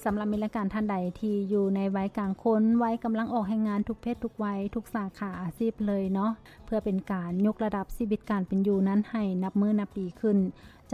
ສຳລັບມິດລະການທ່ານໃດທີ່ຢູ່ໃນໄວກາງຄົນ, ໄວກຳລັງອອກແຮງງານທຸກເພດທຸກໄວ, ທຸກສາຂາອາຊີບເລີຍເນາະ, ເພື່ອເປັນການຍົກລະດັບຊີວິດການເປັນຢູ່ນັ້ນໃຫ້ນັບມື້ນັບດີຂຶ້ນ,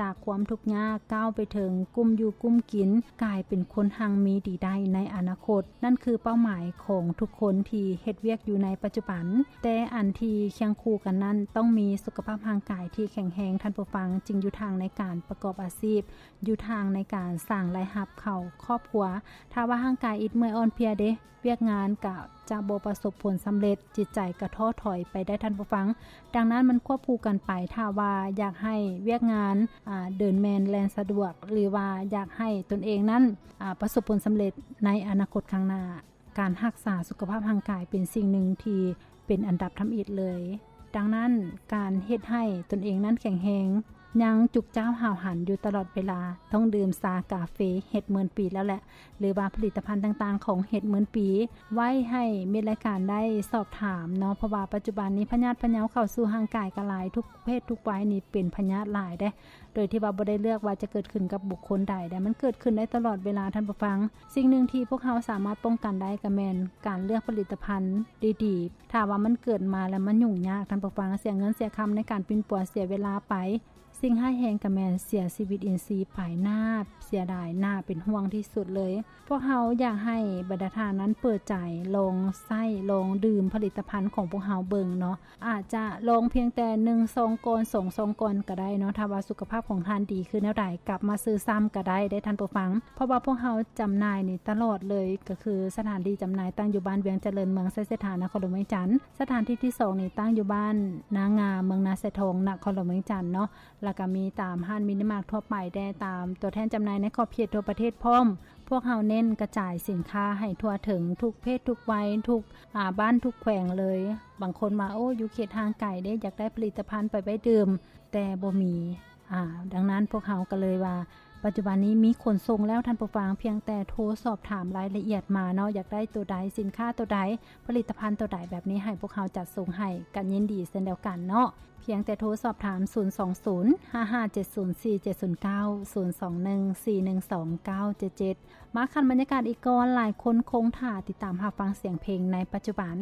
ຈາກຄວາມທຸກຍາກກ້າວໄປເຖິງກຸ້ມຢູ່ກຸ້ມກິນ, ກາຍເປັນຄົນຮັ່ງມີດີໄດ້ໃນອະນາຄົດ. ນັ້ນຄືເປົ້າໝາຍຂອງທຸກຄົນທີ່ເຮັດວຽກຢູ່ໃນປັດຈຸບັນ. ແຕ່ອັນທີ່ຄຽງຄູ່ກັນນັ້ນ ຕ້ອງມີສຸຂະພາບຮ່າງກາຍທີ່ແຂງແຮງ, ທ່ານຜູ້ຟັງ, ຈຶ່ງຢູ່ທາງໃນການປະກອບອາຊີບ, ຢູ່ທາງໃນການສ້າງລາຍຮັບເຂົ້າຄອບຄົວ. ຖ້າວ່າຮ່າງກາຍອິດເມື່ອຍອ່ອນເພຍເດ, ວຽກງານກະຈະບໍ່ປະສົບຜົນສຳເລັດ, ຈິດໃຈກະທໍ້ຖອຍໄປໄດ້, ທ່ານຜູ້ຟັງ. ດັ່ງນັ້ນມັນຄວບຄູ່ກັນໄປ, ຖ້າວ່າຢາກໃຫ້ວຽກງານ, ອາ, ເດີນແມ່ນແລ່ນສະດວກ, ຫຼືວ່າຢາກໃຫ້ຕົນເອງນັ້ນ, ອາ, ປະສົບຜົນສຳເລັດໃນອະນາຄົດຂ້າງໜ້າ, ການຮັກສາສຸຂະພາບຮ່າງກາຍເປັນສິ່ງໜຶ່ງທີ່ເປັນອັນດັບທຳອິດເລີຍ. ດັ່ງນັ້ນ, ການເຮັດໃຫ້ຕົນເອງນັ້ນແຂງແຮງ, ຍັງຈຸກຈ້າວຫ້າວຫັນຢູ່ຕະຫຼອດເວລາ, ຕ້ອງດື່ມຊາກາເຟເຮັດໝື່ນປີແລ້ວແຫຼະ, ຫຼືວ່າຜະລິດຕະພັນຕ່າງໆຂອງເຮັດໝື່ນປີ, ໄວ້ໃຫ້ມິດລາຍການໄດ້ສອບຖາມເນາະ, ເພາະວ່າປັດຈຸບັນນີ້ພະຍາດພະເຍົາເຂົ້າສູ່ຮ່າງກາຍກໍຫຼາຍ, ທຸກເພດທຸກໄວນີ້ເປັນພະຍາດຫຼາຍເດ້, ໂດຍທີ່ວ່າບໍ່ໄດ້ເລືອກວ່າຈະເກີດຂຶ້ນກັບບຸກຄົນໃດເດ້, ມັນເກີດຂຶ້ນໄດ້ຕະຫຼອດເວລາ, ທ່ານຜູ້ຟັງ. ສິ່ງໜຶ່ງທີ່ພວກເຮົາສາມາດປ້ອງກັນໄດ້ກໍແມ່ນການເລືອກຜະລິດຕະພັນດີໆ. ຖ້າວ່າມັນເກີດມາແລ້ວມັນຫຍຸ້ງຍາກ, ທ່ານຜູ້ຟັງ, ເສຍເງິນເສຍຄຳໃນການປິ່ນປົວ, ເສຍເວລາໄປ. ສິ່ງຮ້າຍແຮງກໍແມ່ນເສຍຊີວິດອິນຊີໄປ, ໜ້າເສຍດາຍ, ໜ້າເປັນຫ່ວງທີ່ສຸດເລີຍ. ພວກເຮົາຢາກໃຫ້ບັນດາທ່ານນັ້ນເປີດໃຈ, ລອງໃຊ້, ລອງດື່ມຜະລິດຕະພັນຂອງພວກເຮົາເບິ່ງເນາະ. ອາດຈະລອງພຽງແຕ່ໜຶ່ງຊອງກ່ອນ, ສອງຊອງກ່ອນກໍໄດ້ເນາະ. ຖ້າວ່າສຸຂະພາບຂອງທ່ານດີຂຶ້ນແນວໃດ, ກັບມາຊື້ຊ້ຳກໍໄດ້ເດ້, ທ່ານຜູ້ຟັງ. ເພາະວ່າພວກເຮົາຈຳໜ່າຍນີ້ຕະຫຼອດເລີຍ, ກໍຄືສະຖານທີ່ຈຳໜ່າຍຕັ້ງຢູ່ບ້ານວຽງຈະເລີນ, ເມືອງໄຊເສດຖາ, ນະຄອນຫຼວງວຽງຈັນ. ສະຖານທີ່ທີສອງນີ້ຕັ້ງຢູ່ບ້ານນາງາ, ເມືອງນາຊາຍທອງ, ນະຄອນຫຼວງວຽງຈັນເນາະ. ແລ້ວກໍມີຕາມຮ້ານມິນິມາດທົ່ວໄປແດ່, ຕາມຕົວແທນຈຳໜ່າຍໃນຂອບເຂດທົ່ວປະເທດພ້ອມ. ພວກເຮົາເນັ້ນກະຈາຍສິນຄ້າໃຫ້ທົ່ວເຖິງທຸກເພດທຸກໄວ, ທຸກ, ອາ, ບ້ານທຸກແຂວງເລີຍ. ບາງຄົນວ່າ, ໂອ້, ຢູ່ເຂດຫ່າງໄກເດ້, ຢາກໄດ້ຜະລິດຕະພັນໄປໄວ້ດື່ມ, ແຕ່ບໍ່ມີ. ອາ, ດັ່ງນັ້ນພວກເຮົາກໍເລີຍວ່າ, ປັດຈຸບັນນີ້ມີຂົນສົ່ງແລ້ວ, ທ່ານຜູ້ຟັງ, ພຽງແຕ່ໂທສອບຖາມລາຍລະອຽດມາເນາະ, ຢາກໄດ້ຕົວໃດ, ສິນຄ້າຕົວໃດ, ຜະລິດຕະພັນຕົວໃດ, ແບບນີ້ໃຫ້ພວກເຮົາຈັດສົ່ງໃຫ້, ກໍຍິນດີເຊັ່ນດຽວກັນເນາະ. ພຽງແຕ່ໂທສອບຖາມ ສູນສອງສູນ ຫ້າຫ້າເຈັດສູນສີ່ເຈັດສູນເກົ້າ ສູນສອງໜຶ່ງ ສີ່ໜຶ່ງສອງ ເກົ້າເຈັດເຈັດ. ມາຂັ້ນບັນຍາກາດອີກກ່ອນ, ຫຼາຍຄົນຄົງຖ້າຕິດຕາມຮັບຟັງສຽງເພງໃນປັດຈຸບັນ.